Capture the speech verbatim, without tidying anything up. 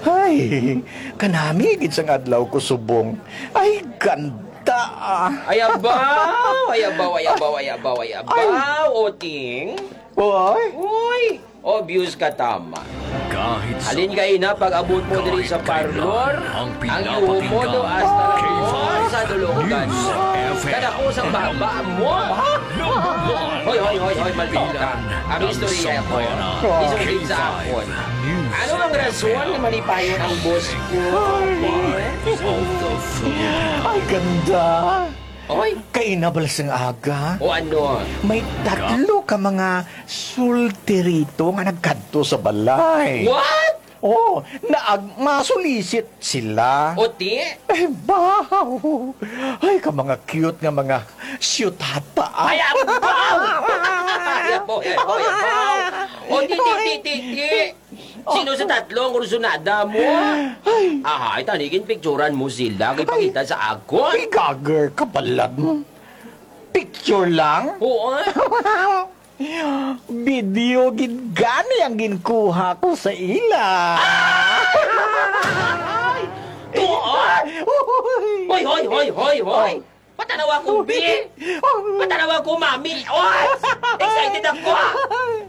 Ay, kanami gid sang adlaw ko subong. Ay, ganda. Ay, abaw! Ay, abaw, ay, abaw, ay, abaw, ay, abaw, Oting. Oy. Uy, obvious ka tama. Kahit sa Halin kaina pag-abot mo diri sa kahit kailan, parlor, ang ang yuho mo do pinapakinggan, hasta lang K five mo sa dulungan News mo. F M. Kada ko sa baba mo. Number one. Hoy, hoy, hoy, hoy, malbitaw ka. Ang istorya ko, isugid sa akon. Ano ang rason nga malipayon ang boss ko? Ay, ganda. Oy. Kaina bala sang aga. O ano? May tatlo ka mga solterito nga nagkadto sa balay. What? Oh, naag masulisit sila. O ti? Eh, baw! Ay, ka mga cute nga mga siyutata. Ay, abaw! Ay, abaw, ay, abaw, ay, abaw. O, di, di, di, di, di. Sino sa tatlo ang kursunada mo? Ay. Ahay, tanigin picturan mo sila. Kay pakita sa akon. Igager ka pala. Picture lang? Oo, ah. Video gid gani ang ginkuha ko sa ila. Ay! Tuod! Uy! Hoy, hoy, hoy, hoy, hoy! Patanawa ko, bi! Patanawa ko, mami! Oy! Excited ako!